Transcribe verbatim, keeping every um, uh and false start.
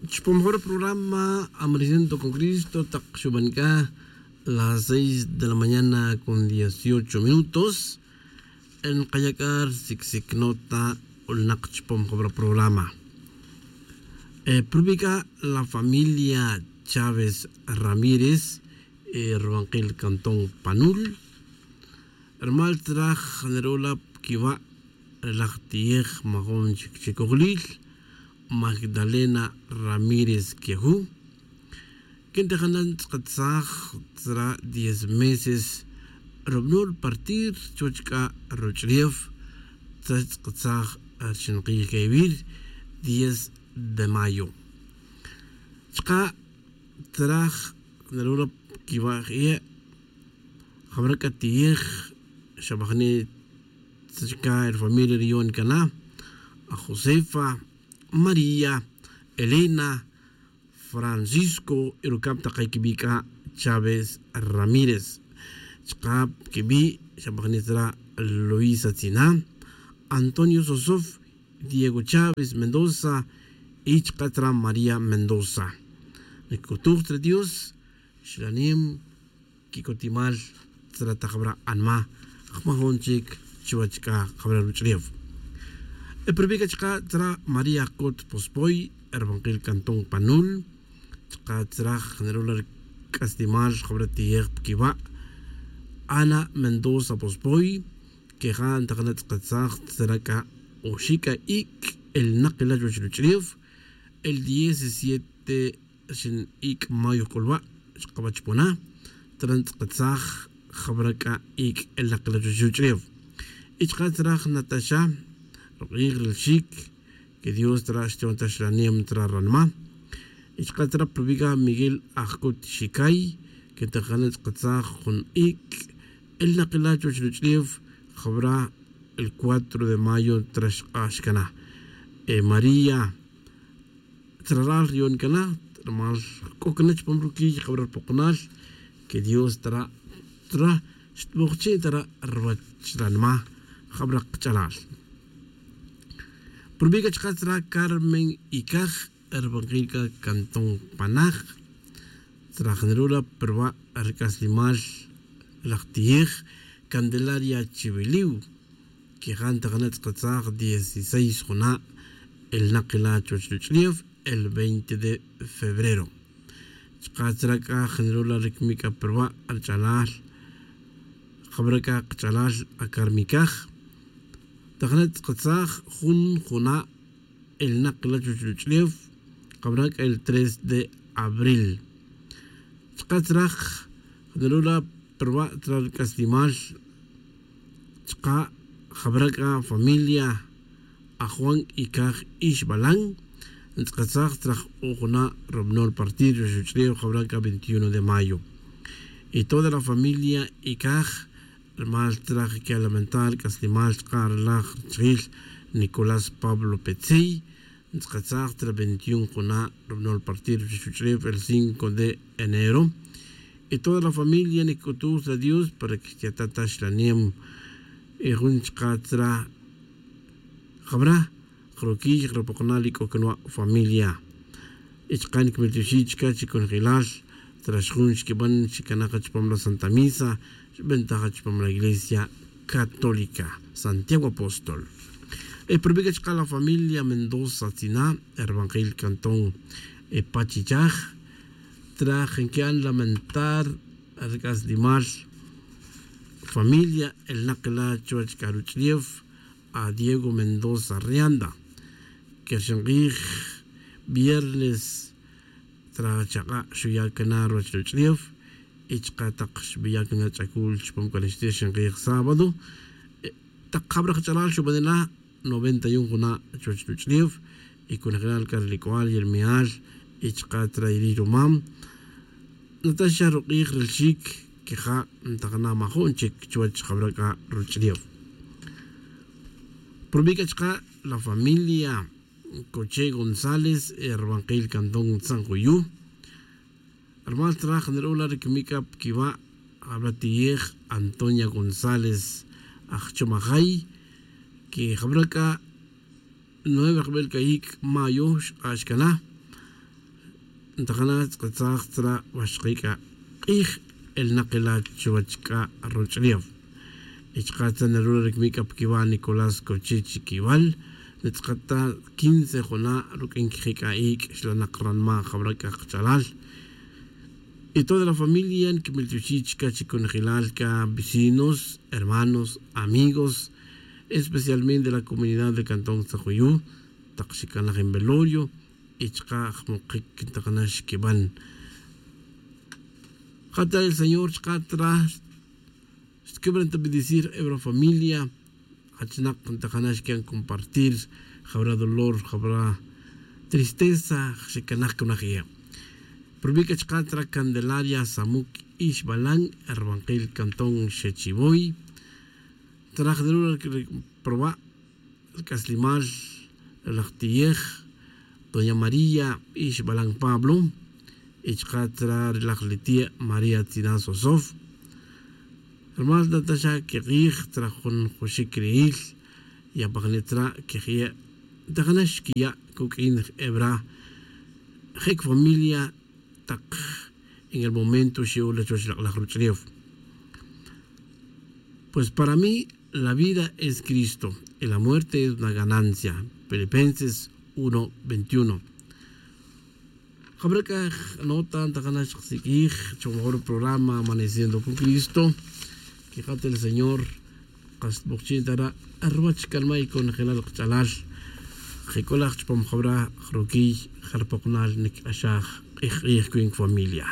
Chupam jawara programa Amaneciendo con Cristo tak xuban c'a las seis de la mañana con dieciocho minutos. Nkaya' c'a rsic' sic' nota c'ulnak chupam jawara programa. Prubi' c'a la familia Chávez Ramírez rubankil cantón Panul. Rumal tzra jniru' la pquiwa' ri laj ti'ej majun chic chicojlil Magdalena Ramírez Quejú. Quin ta jana' ntz'akatsaj tzra diez meses rubno' rupartir chuwech c'a ruch'ulef. Tzra xtz'akatsaj ri xinq'ij c'a iwir diez de mayo. Chka' tzra jniru' la pquiwa' jie' jawara c'a ti'ej xabajni' tzra chca ri familia riyon cana a Josefa, María, Elena, Francisco y rucab tak quibi' c'a Chávez Ramírez. Chka' quibi' xabajni' tzra Luisa Tzina, Antonio Sosof, Diego Chávez Mendoza y chka' tzra María Mendoza. Nic'utuj tzra Dios xlanem quic'utimal tzra ta jawara' anma jmajun chic chuwech c'a jawara' ruch'ulef. Prubi' c'a chka' tzra María Jcot Pospoy rubankil cantón Panul. Chka' tzra jniru' la ri c'aslimal jawara' ti'ej pquiwa' Ana Mendoza Pospoy. Queja' ntakana' tz'akatsaj tzra c'a oxi' c'a ic' elnak ila chuwech ruch'ulef. El diecisiete xin ic' mayo jc'ulwa' xkaba chupona'. Tzra ntz'akatsaj jawara' c'a ic' elnak ila chuwech ruch'ulef. Y chka' tzra jnataxa ruk'ij ri lxic que Dios tzra xtiyon ta xlanem tzra ranma. Y chka' tzra prubi' c'a Miguel Ajcot Xicay que ntakana' ntz'akatsaj jun ic' elnak ila chuwech ruch'ulef jawara' el cuatro de mayo tzra xk'ax cana. María tzra ral riyon cana rumal c'o cana chupam ruquiy jawara' rupokonal que Dios tzra tzra xtbojchi' tzra ruwech ranma jawara' kach'alal. Prubi' c'a chka' tzra Carmen Icaj rubankil c'a cantón Panaj. Tzra jniru' la pruba' ri c'aslimal laj ti'ej Candelaria Chiwiliw. Queja' ntakana' tz'akatsaj dieciséis juna' elnak ila chuwech ruch'ulef el veinte de febrero. Chka' tzra c'a jniru' la ri camic c'a pruba' ri ch'alal jawara' c'a kach'alal a Carmen Icaj. Ntakana' tz'akatsaj jun juna' elnak ila chuwech ruch'ulef jawara' c'a el tres de abril. Chka' tzra jniru' la pruba' tzra ri c'aslimal chka' jawara' c'a familia a Juan Icaj Ixbalan. Ntz'akatsaj tzra juna' rubno' rupartir chuwech ruch'ulef jawara' c'a veintiuno de mayo. Y toda la familia Icaj rumal tzra que lamentar c'aslimal chka' ri laj richijil Nicolás Pablo Petzey. Ntz'akatsaj tzra veintiuno juna' rubno' rupartir chuwech ruch'ulef el cinco de enero. Y toda la familia nic'utuj tzra Dios para que xtiya' ta ta xlanem. Y jun chka' tzra jawara' jruquiy jrupokonal y c'o cana wa' familia. Y chka' niquimil tioxi' chca chi conjelal tzra xjun xquiban xicana' c'a chupam la Santa Misa xbenta' c'a chupam la Iglesia Católica Santiago Apóstol. Prubi' c'a chka' la familia Mendoza Tzina rubankil cantón Pachichaj. Tzra nqui'an lamentar ri c'aslimal familia elnak ila chuwech c'a ruch'ulef a Diego Mendoza Rianda que ri xink'ij viernes tzra chak'a' xuya' cana ruwech ruch'ulef. Y chka' tak xbiya' cana ch'acul chupam c'a ri xink'ij sábado tak jawara' kach'alal xubanela' noventa y un juna' chuwech ruch'ulef. Y conjelal c'a ri lic'ual y ri mi'al y chka' tzra y ri' rumam nata xa ruk'ij ri lxic queja' ntakana' majun chic chuwech jawara' c'a ruch'ulef. Prubi' c'a chka' la familia Coche González rubankil cantón Tzanjuyu. Rumal tzra jniru' la ri camic c'a pquiwa' jawara' ti'ej Antonia González aj Chumajay que jawara' c'a nueve jbel c'a ic' mayo xk'ax cana. ntajana' tz'aqatzaj tzra' waxqi' k'a q'ij elnaq ila' chuwech k'a ruch'lew. Y chqa' tzra' nirula ri kmi' k'a pa kiwa' nicolás cochich kiwal. Nitz'aqat ta quince juna' ruk'in kiji' k'a iik' xlanaq ranma' jab'ra' k'a qach'alal. Y toda la familia nkimiltioxij chka' chi kunajilal k'a vecinos, hermanos, amigos, especialmente la comunidad de cantón tzajuyu, taq xikanaj en velorio y chqa' jmoqik ntaqana' xkiban. Jata' el señor chqa' tra xtkibran ta bendecir ebra familia. Jachnaq ntaqana' xkian compartir jabra' dolor jabra' tristeza. Xikanaj kunaj ije' prubi' k'a chqa' tra candelaria samuk ixbalan, erbanqil cantón xechivoy. Traj de lula proba' ri c'aslimal ri laj tiej doña maría ixbalan pablo. Y chka' tzra' ri laj li ti' maría tzina sosof. Rumal nataxa' kek'ij tzra' jun juxic ri'il. Yapajni' tzra' kejye' ntajana' xkiya' kuk'in ri hebra. Je' kifamilia tak en el momento xi'ul la chuwech lak'laj ruch'ulef. Pues para mí la vida es cristo, y la muerte es una ganancia. Filipenses uno veintiuno. Jabra' k'a nota ntajana' xqsik'ij chumajor programa amaneciendo con cristo. Quijat el señor kas bokchin tara' ruwach canmay conjelal kach'alal. Jic'ulaj chupam jabra' jruquiy jarpokonal nic'axaj k'ij k'ij cuin familia.